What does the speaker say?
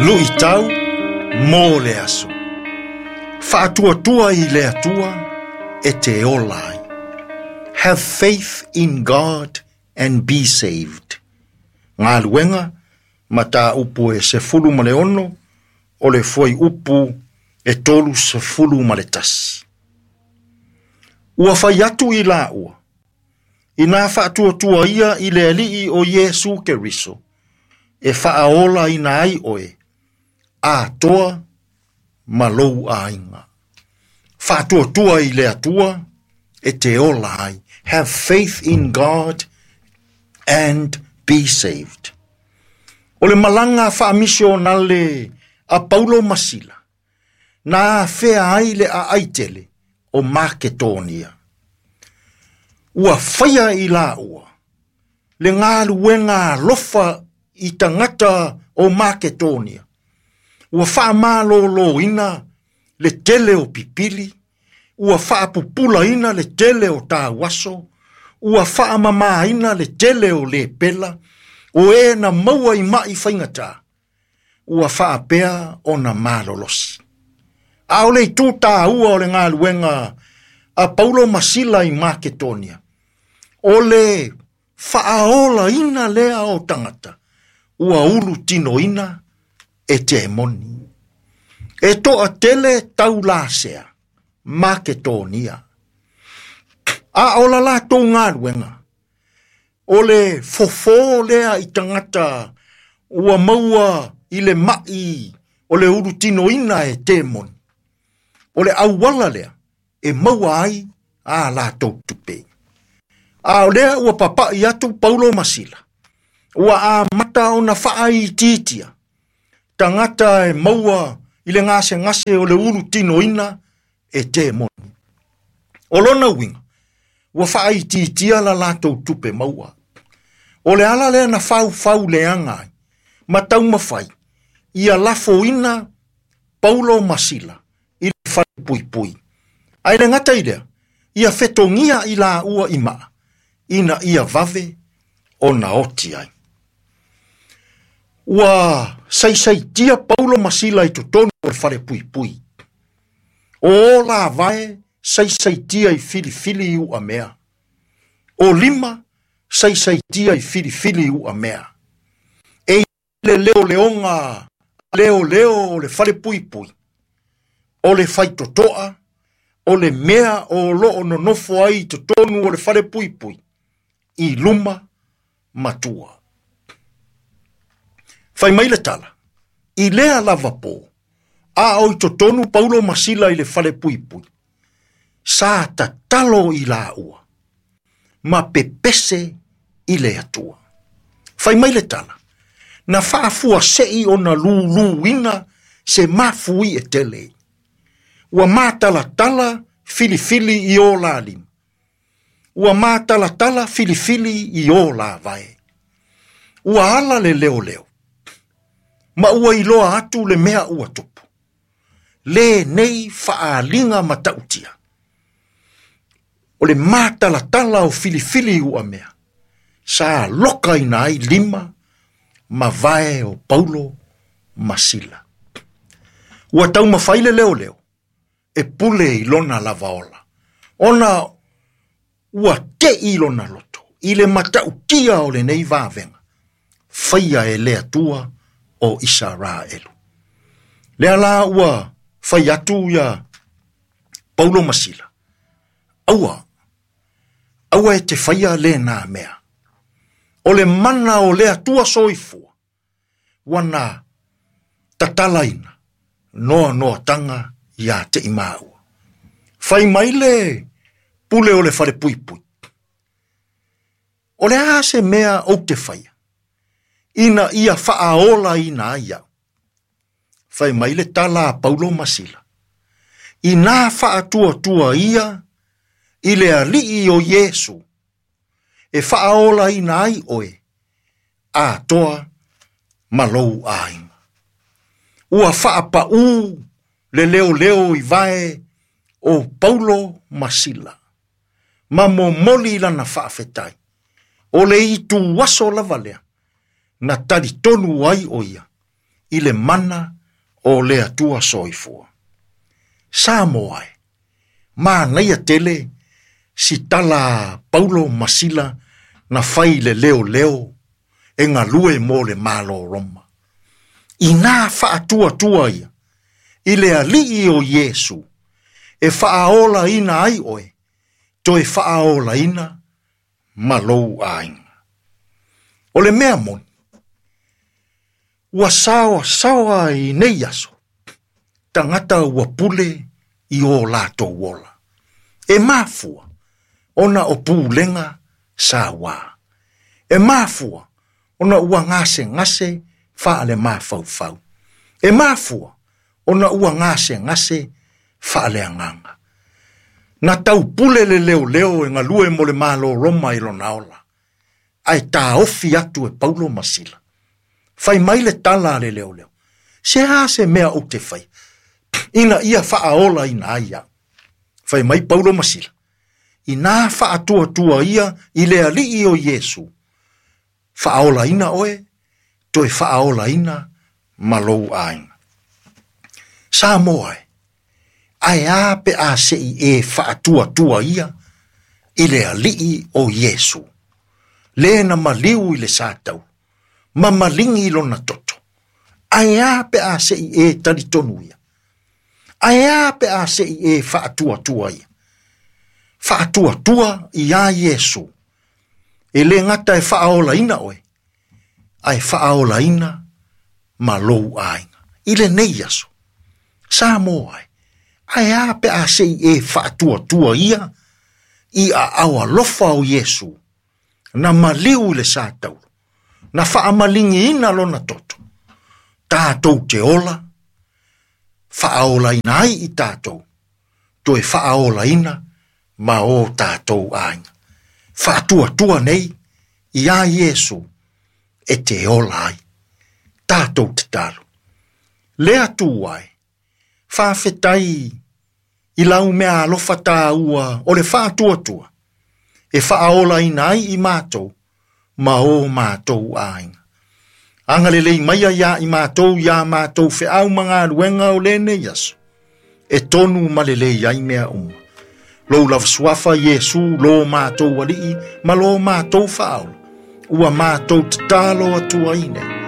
Luʻitau mo le aso. Faatuatua i le Atua e te ola ai. Have faith in God and be saved. Galuega, mataupu e 16 o le fuaiupu e 31. Ua fai atu i laua, inā faatuatua ia i le Alii o Iesu Keriso, e faaolaina ai oe, atoa ma lou aiga. Faatuatua i le Atua e te ola ai. Have faith in God and be saved. O le malaga faamisionale a Paulo ma Sila, na afea ai le aai tele o Maketonia. Ua faia i laua le galuega alofa i tagata o Maketonia. Ua faamalōlōina le tele o pipili, ua faapupulaina le tele o tauaso, ua faamamāina le tele o lepela, o e na maua i maʻi faigata, ua faapea ona malolosi. A o le itu taua o le galuega a Paulo ma Sila i Maketonia, o le faaolaina lea o tagata, ua ulu tinoina e temoni. E toatele taulasea Maketonia. A o la latou galuega, o le fofō lea i tagata ua maua i le maʻi o le ulu tinoina e temoni. O le auala lea e maua ai a latou tupe. A o lea ua papaʻi atu Paulo ma Sila, ua amata ona faaitiitia tagata e maua i le gasegase o le ulu tinoina e temoni. O lona uiga, ua faaitiitia la latou tupe maua. O le ala lea na faufau leaga ai, ma taumafai ia lafoina Paulo ma Sila i le falepuipui. Ae le gata i lea, ia fetogia i laua i maa, ina ia vave ona oti ai. Ua saisaitia Paulo ma Sila i totonu o le falepuipui. O o lavae saisaitia i filifili i uamea. O lima saisaitia i filifili i uamea. E i le leoleoga leoleo o le falepuipui, o le faitotoa, o le mea o loo nonofo ai i totonu o le falepuipui, i luma ma tua. Fai mai le tala, i lea lava pō, a o i totonu Paulo ma Sila i le falepuipui, sa tatalo i laua, ma pepese i le Atua. Fai mai le tala, na faafuasei ona lūlūina se mafui e tele. Ua matalatala filifili i o la lima. Ua matalatala filifili i o la vae. Ua ala le leoleo. Ma ua iloa atu le mea ua tupu. Le nei faaaliga matautia. O le matalatala o filifili uamea. Sa lokaina ai lima ma vae o Paulo ma Sila. Ua taumafai le leoleo e pule i lona lava ola. Ona ua teʻi lona loto i le matautia o lenei vavega, faia e le Atua o Isaraelu. Lea la ua fai atu ia Paulo ma Sila. Aua, aua e te faia lena mea. O le mana o le Atua soifua, ua na tatalaina noanoataga ia te i maua. Fai mai le pule o le falepuipui. O le a se mea ou te faia, ina ia faaolaina ai au. Fai mai le tala a Paulo ma Sila. Inā faatuatua ia i le Alii o Iesu, e faaolaina ai oe, atoa ma lou aiga. Ua faapaū le leoleo i vae o Paulo ma Sila, ma momoli lana faafetai. O le itu aso lava lea, na talitonu ai o ia, i le mana o le Atua soifua. Samoa e, manaia tele si tala Paulo ma Sila na fai le leo leo e galue mo le Malo Roma. Inā faatuatua ia i le alii o Iesu e faaolaina ai oe, toe faaolaina ma lou aiga. O le mea moni, ua saoasaoa i nei aso, tagata ua pule i o latou ola. E mafua ona o pulega sauā. E mafua ona ua gasegase faale-mafaufau. E mafua ona ua gasegase faaleagaga. Na taupule le leoleo e galue mo le Malo Roma i lona ola, ae taofi atu e Paulo ma Sila. Fai mai le tala a le leoleo, se a se mea ou te fai, ina ia faaolaina ai au. Fai mai Paulo ma Sila, inā faatuatua ia i le alii o Iesu, faaolaina oe, toe faaolaina ma lou aiga. Samoa e, ae a pe a se i e faatuatua ia i le alii o Iesu, le na maliu i le satau, ma maligi lona toto. Ae a pe a se i e talitonu ia. Ae a pe a se i e faatuatua ia. Faatuatua ia Iesu. E le gata e faaolaina oe, ae faaolaina ma lou aiga. I lenei aso, Samoa e, ae a pe a se i e faatuatua ia i aao alofa o Iesu, na maliu i le sataulo, na faamaligiina lona toto, tatou te ola, faaolaina ai i tatou, toe faaolaina ma o tatou aiga. Faatuatua nei ia Iesu e te ola ai. Tatou tatalo. Le Atua e, faafetai i lau mea alofa tāua o le faatuatua, e faaolaina ai i matou ma o matou aiga. Agalelei maia ia i matou ia matou feau ma galuega o lenei aso, e tonu ma lelei ai mea uma. Lou lava suafa Iesu lo matou alii ma lo matou faaola, ua matou tatalo atu ai nei.